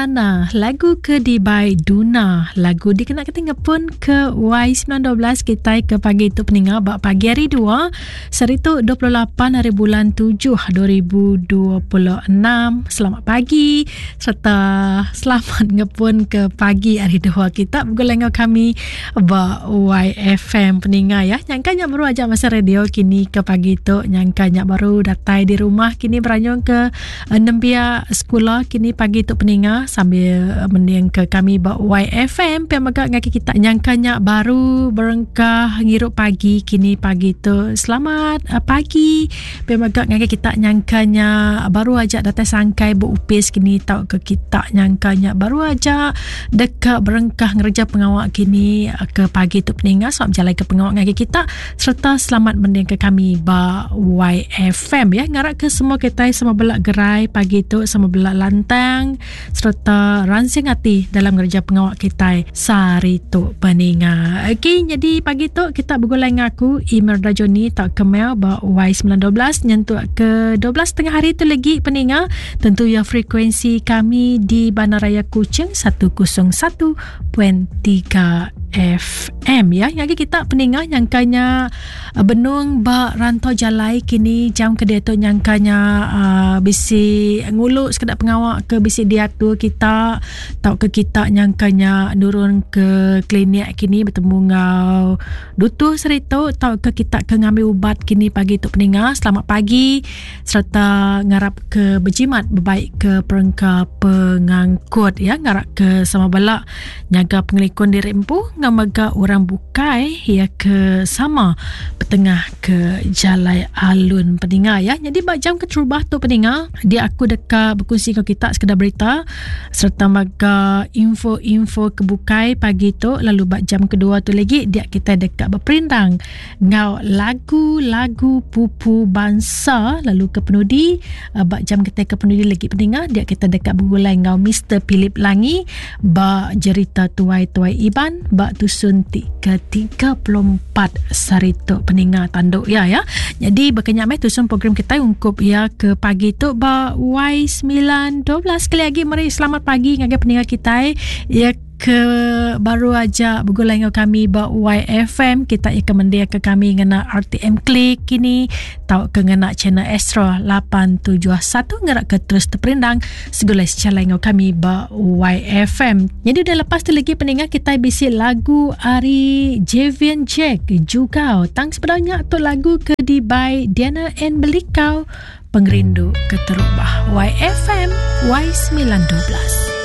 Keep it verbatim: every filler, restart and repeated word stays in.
Nana, lagu ke dibai Duna, lagu dikena kita ngepun ke Y sembilan dua belas kita ke pagi tu peninga bak pagi hari dua, seritu dua puluh lapan hari bulan tujuh dua ribu dua puluh enam. Selamat pagi serta selamat ngepun ke pagi hari dua kita bergulai dengan kami bak Y F M peninga ya. Nyangkanya baru aja masa radio kini ke pagi tu, nyangkanya baru datai di rumah kini beranyung ke nembia sekolah kini pagi tu peninga sambil mending ke kami ba Y F M. Pia mega ngaki kita nyangkanya baru berengkah ngirup pagi kini pagi tu. Selamat uh, pagi. Pia mega ngaki kita nyangkanya baru aja datai sangkai bu upis kini tau ke kita nyangkanya baru aja dekat berengkah ngereja pengawak kini ke pagi tu peninga. Selamat berjalan ke pengawak ngaki kita serta selamat mending ke kami ba Y F M ya. Ngarak ke semua kita sama belak gerai pagi tu, sama belak lantang serta ransing hati dalam ngerja pengawak kita sehari tu peninga. Okey, jadi pagi tu kita bergulai dengan aku Imelda Johnny tak kemel ba Y sembilan dua belas nyentuk ke dua belas tengah hari tu lagi peninga. Tentu ya frekuensi kami di Bandaraya Kuching seratus satu titik tiga F M ya. Yang kita peninga nyangkanya benung ba rantau jalai kini jam ke dia tu nyangkanya uh, bisi nguluk sekedar pengawak ke bisi diatur kita tau ke kita nyangkanya nurun ke klinik kini bertemu ngau dutu serito tau ke kita ke ngambil ubat kini pagi tu peninga. Selamat pagi serta ngarap ke berjimat berbaik ke perengka pengangkut ya. Ngarap ke sama belak nyaga pengelikun diri empu ngamaga orang bukai ya ke sama petengah ke jalai alun peninga ya. Jadi bak jam keterubah tu peninga dia aku dekat berkongsi dengan kita sekedar berita serta maga info-info kebukai pagi tu. Lalu bak jam kedua tu lagi dia kita dekat berperindang ngau lagu-lagu pupu bangsa. Lalu ke penudi bak jam kita ke penudi lagi peninga dia kita dekat bergulai ngau Mister Philip Langi bak cerita tuai-tuai Iban bak tusun tiga tiga puluh empat sarito peninga tanduk ya ya. Jadi berkenyak meh tusun program kita ungkup ya ke pagi tu ba Y sembilan dua belas. Sekali lagi mari selamat pagi ngagai peninga kita ya ke baru aja bergulai dengan kami ba Y F M. Kita ia kemendia ke kami ngena R T M Klik kini tau ke ngena channel Astro lapan tujuh satu ngerak ke terus terperindang segulai secara dengan kami ba Y F M. Jadi dah lepas tu lagi peninga kita bisi lagu ari Javian Jack juga tang sebenarnya tu lagu ke di by Diana N Belikau Pengerindu Keterubah. Y F M Y sembilan dua belas.